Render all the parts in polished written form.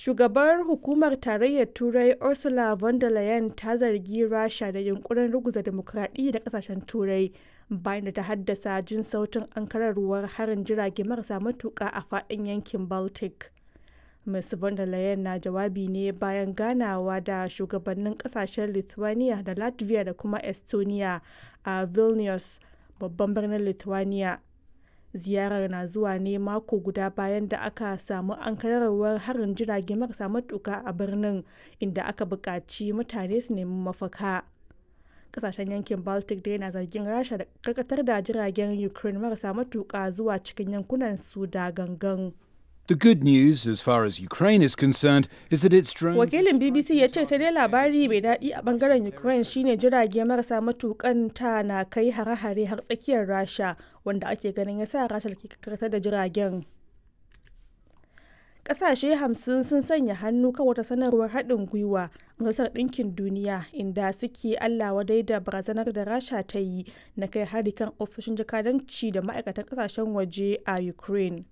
Shugabar Hukumar Tarayyar Turai Ursula von der Leyen ta zargi Rasha da yunkurin ruguza dimokuraɗiyya da kasashen Turai bayan da ta haddasa jin sautin ankararwar harin jirage marasa matuƙa a faɗin yankin Baltic. Ms. von der Leyen na jawabi ne bayan ganawa da shugabannin kasashen Lithuania da Latvia da kuma Estonia a Vilnius, babban birnin Lithuania. Ziyarar na zuwa ne mako guda bayan da aka samu ankararwar harin jirage marasa matuka a birnin, inda aka buƙaci mutane su nemi mafaka. Kasashen yankin Baltic dai na zargin Rasha da karkatar da jiragen Ukraine marasa matuka zuwa cikin yankunan su da gangan. The good news, as far as Ukraine is concerned, is that its drones. Wakilin BBC ya ce sai dai labari mai daɗi a bangaren Ukraine shine jirage marasa matukan ta na kai hare-hare har tsakiyar Rasha, wanda ake ganin ya sa Rasha ke karkatar da jiragen. Ƙasashe 50 sun sanya hannu kan wata sanarwar haɗin gwiwa a Majalisar Ɗinkin Duniya inda suke Allah wadai da barazanar da Rasha ta yi na kai hari kan ofisoshin jakadanci da ma'aikatan ƙasashen waje a Ukraine.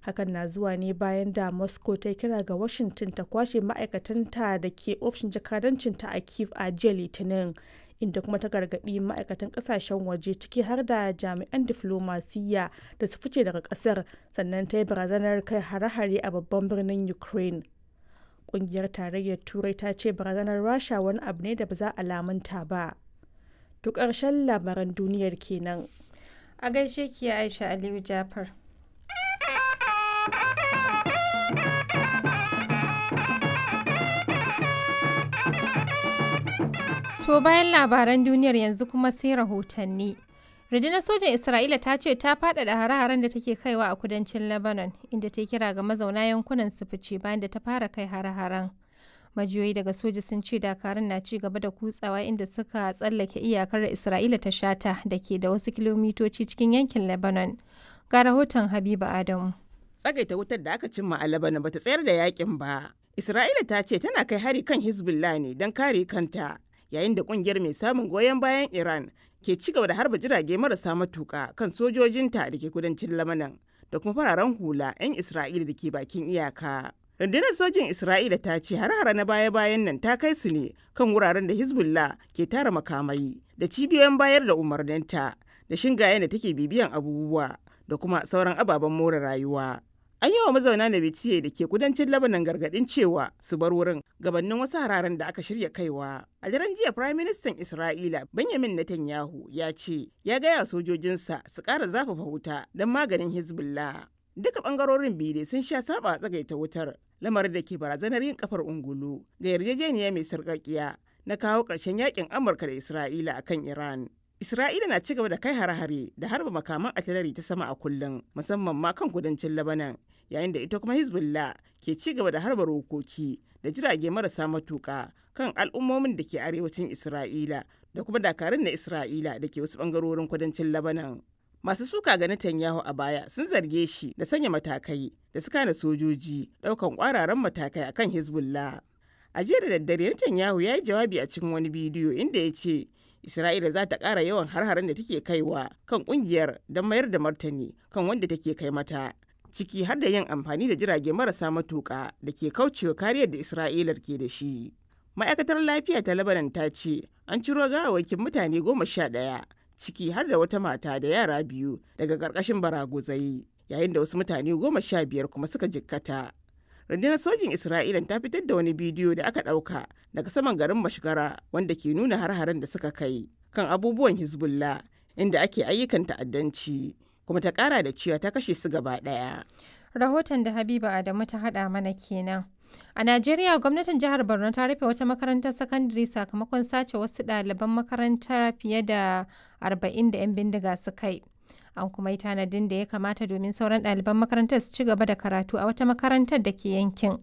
Hakan na zuwa ne bayan da Moscow ta kira ga Washington ta kwashe ma'aikatanta da ke ofishin jakadancinta a Kiev a jiya Litinin, inda kuma ta gargaɗi ma'aikatan ƙasashen waje, ciki har da jami'an diflomasiyya, da su fice daga ƙasar, sannan ta yi barazanar kai hare-hare a babban birnin Ukraine. Ƙungiyar Tarayyar Turai ta ce barazanar Rasha wani abu ne da ba za a lamunta ba. To, ƙarshen labaran duniyar kenan. A gaishe ki, Aisha Aliyu Jafar. To, bayan labaran duniyar yanzu kuma sai rahotanni. Rundunar sojan Isra'ila ta ce ta faɗaɗa hare-haren da take kaiwa a kudancin Lebanon, inda ta kira ga mazauna yankunan su fice bayan da ta fara kai hare-haren. Majiyoyi daga soja sun ce dakarun na ci gaba da kutsawa inda suka tsallake iyakar Isra'ila ta shata da ke da wasu kilomitoci cikin yankin Lebanon. Ga rahoton Habiba Adamu. Tsagaita wutar da aka cimma a Lebanon bata tsayar da yakin ba. Isra'ila ta ce tana kai hari kan Hezbollah ne don kare kanta, yayin da kungiyar mai samun goyon bayan Iran ke ci gaba da harba jirage marasa matuka kan sojojinta da ke kudancin Lamanan da kuma fararen hula 'yan Isra'ila da ke bakin iyaka. Rundunar sojin Isra'ila ta ce har-hara na baya-bayan nan ta kai su ne kan wuraren da Hezbollah ke tara makamai da cibiyoyin bayar da umarninta da shingayen da take bibiyan abubuwa da kuma sauran ababen more rayuwa. An yi wa mazauna Nabatiye da ke kudancin Lebanon gargaɗin cewa su bar wurin gabanin wasu hararen da aka shirya kaiwa. A daren jiya, Prime Minister Isra'ila Benjamin Netanyahu ya ce ya gaya sojojinsa su ƙara zafafa wuta don maganin Hezbollah. Duka ɓangarorin biyu sun sha saba a tsagaita wutar, lamarin da ke barazanar yin kafar ungulu ga yarjejeniya mai sarƙaƙiya na kawo ƙarshen yakin Amurka da Isra'ila akan Iran. Isra'ila na ci gaba da kai hare-hare da harba makaman artillery ta sama a kullum, musamman ma kan kudancin Lebanon, yayin da ita kuma Hezbollah ke ci gaba da harba rokoki da jirage marasa matuka kan al'ummomin da ke arewacin Isra'ila da kuma dakarun na Isra'ila da ke wasu bangarorin kudancin Lebanon. Masu suka ga Netanyahu a baya sun zarge shi da sanya matakai da suka hana sojoji daukan kwararan matakai akan Hezbollah. A jiya da daddare, Netanyahu ya yi jawabi a cikin wani bidiyo inda ya ce Isra'ila za ta ƙara yawan har-haren da take kaiwa kan ƙungiyar don mayar da martani kan wanda take kai mata, ciki har da yin amfani da jirage marasa matuƙa da ke kaucewa kariyar da Isra'ilar ke da shi. Ma'aikatar lafiya ta Lebanon ta ce an ciro gawawwakin mutane 11, ciki har da wata mata da yara biyu, daga ƙarƙashin baraguzai, yayin da wasu mutane 15 kuma suka jikkata. Rundunar sojin Isra'ila ta fitar da wani bidiyo da aka ɗauka daga saman garin Mashgara wanda ke nuna har-haren da suka kai kan abubuwan Hezbollah inda ake ayyukan ta'addanci, kuma ta ƙara da cewa ta kashe su gaba ɗaya. Rahoton da Habiba Adamu ta haɗa mana kenan. A Najeriya, gwamnatin jihar Borno ta rufe wata makarantar sakandare sakamakon sace wasu ɗaliban makaranta fiye da 40 da 'yan bindiga suka yi. An kuma yi tanadin da ya kamata domin sauran ɗaliban makarantar su ci gaba da karatu a wata makarantar da ke yankin,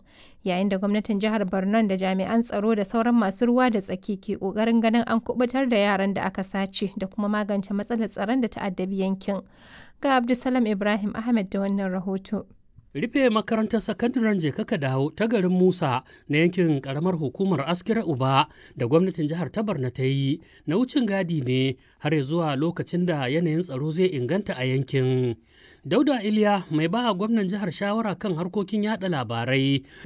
yayin da gwamnatin jihar Borno da jami'an tsaro da sauran masu ruwa da tsaki ke ƙoƙarin ganin an kubutar da yaran da aka sace da kuma magance matsalar tsaron da ta addabi yankin. Ga Abdulsalam Ibrahim Ahmed da wannan rahoto. Rufe makarantar sakandaren Jekaka Dawo ta garin Musa na yankin karamar hukumar Askira Uba da gwamnatin jihar ta Barna ta yi na wucin gadi ne har zuwa lokacin da yanayin tsaro zai inganta a yankin. Dauda Iliya, mai ba gwamnan jihar shawara kan harkokin yada labarai.